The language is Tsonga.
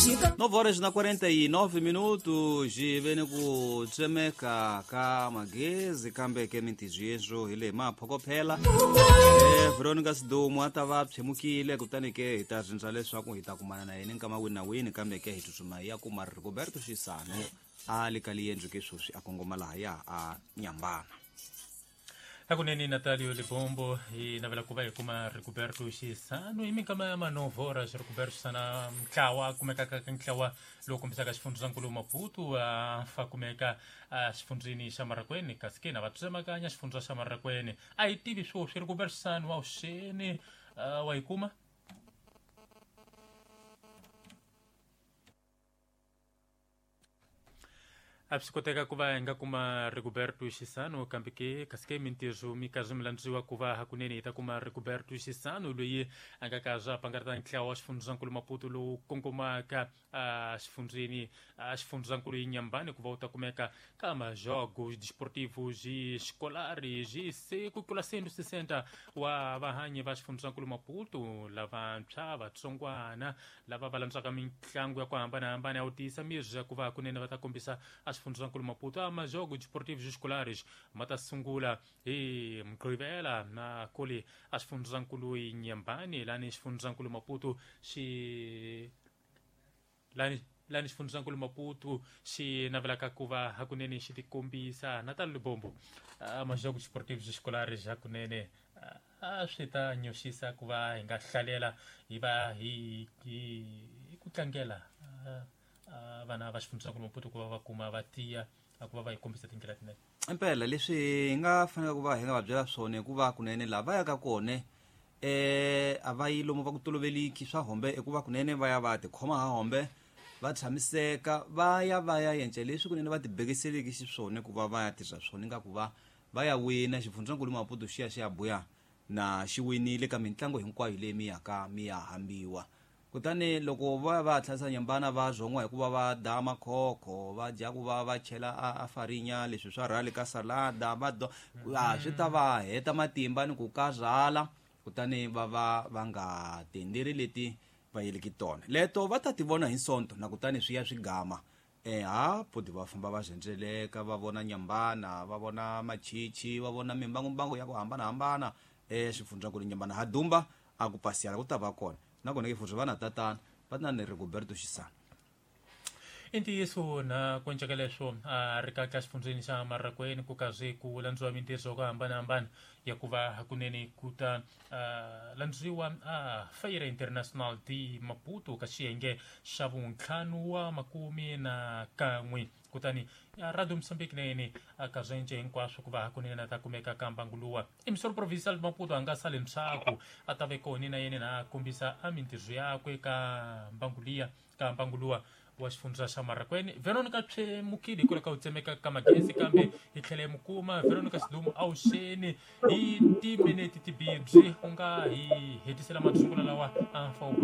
9 horas na 49 minutos vene ku tsemeka ka magezi kambe ke mintijiyezo hi le maphokophela Veronica Sidumo a ta va phemukile kutani ke hi ta rindza leswaku hi ta kumana na yena nkama wini na wini kambe ke hi tsutsuma hi ya kuma Rigoberto Xisano a le ka liendlo ke sweswi a kongoma lahaya a Nyambana. Hakunene Natalio Libombo, hi navela ku va hi kuma Rigoberto Xisano hi minkama ya manovora. Rigoberto Xisana ntlawa a kumekaka ka ntlawa lowu kombisaka xifundzankulu Maputo, a fa kumeka exifundzeni xa Marakweni, kasi ke na va tsemakanya xifundza xa Marakweni. A hi tivi swoswi Rigoberto Xisano wa vuxeni wa yi kuma. A swi koteka ku va hi nga kuma Rigoberto Xisano kambe ke kasi ke mintirho mi karhi mi landziwa ku va hakunene hi ta kuma Rigoberto Xisano loyi a nga ka swa pangareta ntlawa wa xifundzankulu Maputo lowu kongomaka exifundzeni xifundzankulu Inhambane ku va u ta kumeka ka majogos desportivos escolares se ku tlula 160 wa vahanyi va xifundzankulu Maputo lavantshwa vatsongwana lava va landzaka mitlangu ya ku hambanahambana ya ku tiyisa miri ya ku va hakunene va ta kombisa a xifundzankulu Maputo. A majogo desportivos escolares ma ta sungula hi Mugqivela na kuli a xifundzankulu Inhambane lani xifundzankulu Maputo xi lani xifundzankulu Maputo xi navelaka ku va hakunene xi tikombisa. Natal Libombo, majogo desportivos escolares hakunene a swi ta nyoxisa ku va hi nga hlalela hi va hi ku tlangela vana va xifundzankulu Maputo ku va va kuma va tiya ku va va hi kombisa tindlela tinene. Impela leswi hi nga fanelaka ku va hi nga va byela swona hikuva kunene laha va yaka kona a va yi lomu va ku toloveliki swa hombe hikuva kunene va ya va tikhoma ha hombe va tshamiseka va ya va ya yenca leswi kunene va tibekiseleki xiswona ku va va ya tirha swona nga ku va va ya wina xifundzankulu Maputo xi ya xi ya buya na xi winile ka mitlangu hinkwayo leyi mi yaka mi ya hambiwa. Kutani loko va va tlhasa Nyambana va zon'wa hikuva va da makhokho va dya ku va va chela a farinya leswi swa rhali ka salada va do a swi ta va heta matimba ni ku karhala kutani va va va nga tenderi leti va yeleki tona leto va ta ti vona hi Sonto na kutani swi ya swi gama ha podi va famba va zhendzeleka va vona Nyambana va vona machichi va vona mimbangumbangu ya ku hambanahambana xifundzankulu Nyambana ha dumba a ku pasiyana ku ta va kona nakona ke futhi va na tatana va na ni Rigoberto Xisano. I ntiyiso na ku enceka leswo a ri ka ka xifundzeni xa Marakweni ku karhi ku landziwa mintirho ku hambanahambana ya ku va hakunene ku ta landziwa a Feira International de Maputo ka xiyenge xa vuntlhanu wa makume na kan'we. Kutani Radio Mozambique na yena a ka zwenje hinkwaswo ku va hakunene a ta kumeka ka mbangu luwa. Emissor Provincial de Maputo a nga sali ndzhaku a ta ve kona na yena na kombisa a mintirho yakwe ka mbangu liya ka mbangu luwa wa xifundza xa Marakweni. Veronica Tshemukile hikwalaho ka ku tsemeka ka magezi kambe hi tlhela hi mu kuma Veronica Sidumo awuxeni hi timinete tibibyi u nga hi hetisela masungulo lawa a fa.